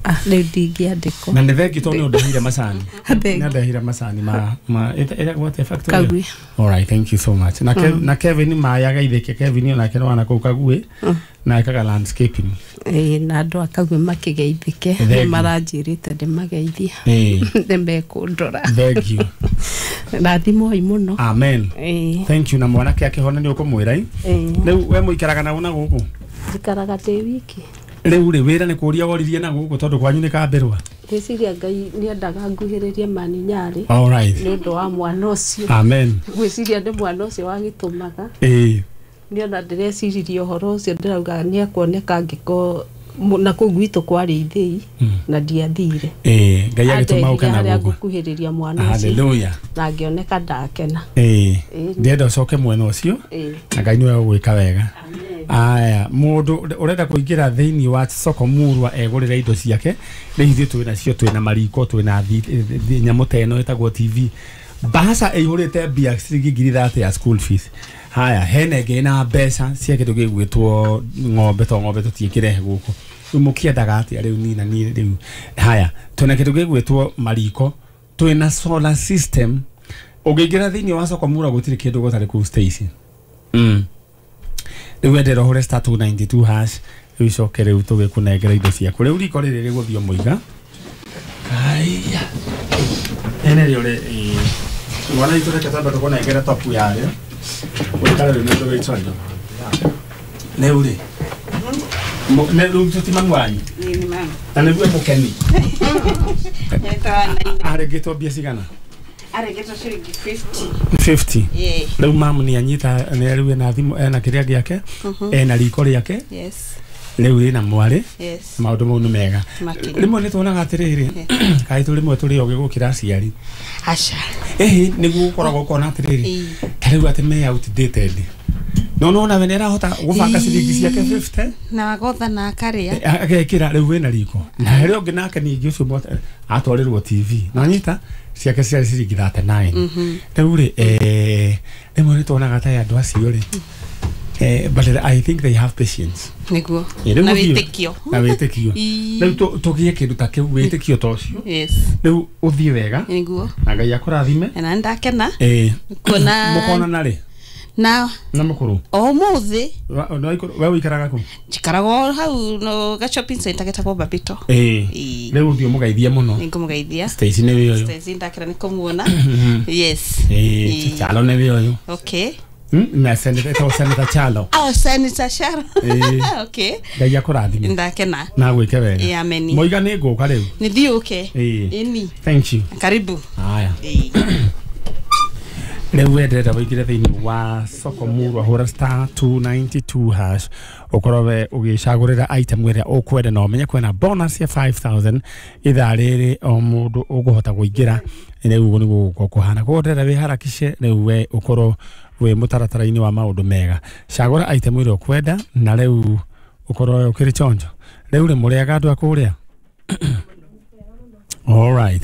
Ah, rĩu ndingĩandĩkwo. Na nĩ thengi tondũ nĩ ũndehire macani. Thengiũ. Nĩ andehire macani ma ĩtagwo atĩa factory? Kagui. All right, thank you so much. Na, na Kevin maĩ ageithĩke. Kevin onake nĩ wana kũu Kagui na ekaga landscaping. Ĩĩ, na andũ a Kagui makĩgeithĩke. Thengiũ. Nĩ maranjĩrĩte ndĩmageithie. Nĩ mekũndora. Thank you. Rathimoi mũno. Amen. Ĩĩ. Thank you. Na mwanake akĩhona nĩ ũkũmwĩra i. Ĩĩ. Rĩu we mũikaraga na gũkũ? Njikaraga ndĩ wiki. Rĩu rĩ, wĩra nĩ kũria woririe na gũkũ tondũ kwanyu nĩ kambĩrwa? Ngwĩciria Ngai nĩendaga nguhĩrĩrie mani Nyarĩ All right. nĩ ũndũ wa mwana ũcio. Amen. Ngwĩciria nĩ mwana ũcio wagĩtũmaga. Nĩ ona ndĩreciririe ũhoro ũcio, ndĩrauga nĩ ekuoneka angĩkorwo na kũu gwitũ kwarĩ ithĩi na ndiathire. Ngai agĩtũma ũke Andehire na harĩa gũkũ. ngũkuhĩrĩria mwana ũcio. Hallelujah. Na ngĩoneka ndakena. Ndĩrenda ũcoke mwena ũcio. Na Ngai nĩwe ũgwĩka wega. Aya, mũndũ ũrenda kũingĩra thĩinĩ wa soko murwa egũrĩre indo ciake, rĩu ithuĩ twĩ nacio, twĩna mariko, twĩna nyamũ ta ĩno ĩtagwo TV, bahasha ĩihũrĩte mbia ciringi 30,000 ya school fees. Haya, hena ĩngĩ ĩna mbeca cia kĩndũ gĩgwĩtwo ng'ombe, to ng'ombe tũtiĩkĩrehe gũkũ. Rĩu mũkĩendaga atĩa rĩu nina niĩ rĩu? Haya, twĩna kĩndũ gĩgwĩtwo mariko, twĩna solar system. Ũngĩingĩra thĩinĩ wa soko murwa gũtirĩ kĩndũ gũtarĩ kũu, Stacy. Rĩu wendera ũhũre *292#, rĩu icoke rĩu tũgĩkũnengera indo ciaku. Rĩu riko rĩrĩ rĩgũthiĩ o mũiga aya ene rĩo rĩ mwana itũ. Reke twambe tũkũnengere topu yarĩo ũikare rĩu nĩ ũndũ rĩu rĩ rĩu tũti mamu wanyu. Nĩ mama. Na nĩguo mũkeni. Nyetawa na Arĩngĩtwo mbia cigana? Arĩngĩtwo ciringi 50. 50? Yeah. Rĩu mamu nĩ anyita nĩ rĩu ena thimũ, ena kĩrĩa gĩake, ena riko rĩake. Rĩu rĩna mwarĩ. Maũndũ mau nĩ mega. Makĩria. Rĩmwe nĩ tuonaga atĩrĩrĩ, kaĩ tũ rĩmwe tũrĩ ogĩ gũkĩra aciari. Aca. Ĩhĩ, nĩguo gũkoragwo ũkona atĩrĩrĩ, ta rĩu atĩ me outdated, no nona we nĩ arahota gũbanga ciringi ciake 50. Na wagotha na akarĩa. Agekĩra rĩu wĩna riko, na harĩa ũngĩ nake ningĩ ũcio atwarĩrwo TV na nyita ciake ciarĩ ciringi 39. Rĩu rĩ, rĩmwe nĩ tuonaga ta andũ acio rĩ, but I think they have patience. Nĩguo. Rĩu Na ũthiĩ- wĩtĩkio. Na wĩtĩkio. Rĩu tũgĩe kĩndũ ta kĩu, wĩtĩkio ta ũcio. Rĩu ũthiĩ wega. Na Ngai akũrathime. Na ndakena kuona. Mũkonana rĩ? Na Na mũkũrũ? O ũmũthĩ. We ũikaraga kũ? Njikaraga o hau no ga shopping center getagwo Babito. Rĩu ũthiĩ ũmũgeithie mũno. Nĩngũmũgeithia. Stacy nĩ wĩ ũyũ. Stacy, ndakena nĩ kũmuona. Yes. Chalo nĩ wĩ ũyũ. Na Senator, ĩtagwo Senator Chalo. Oh, Senator Chalo. Okay. Ngai akũrathime. Ndakena. Na gwĩke wega. Ameni. Moiga nĩ ngũka rĩu. Nĩ thiĩ ũke. Ĩni. Thank you. Karibu. Haya, rĩu we ndĩrenda wĩingĩre thĩinĩ wa soko murwa, hũra *292# ũkorwo we ũgĩcagũrĩra item ĩrĩa ũkwenda, na ũmenye kwĩna bonus ya 5000 ithaa rĩrĩ o mũndũ ũkũhota kũingĩra. Rĩu ũguo nĩguo gũgũkorwo kũhana, koguo ndĩrenda wĩharakishe rĩu we ũkorwo wĩ mũtaratara-inĩ wa maũndũ mega. Cagũra item ĩrĩa ũkwenda na rĩu ũkorwo ũkĩrĩ chonjo. Rĩu rĩ, mũrĩaga andũ a kũrĩa? All right.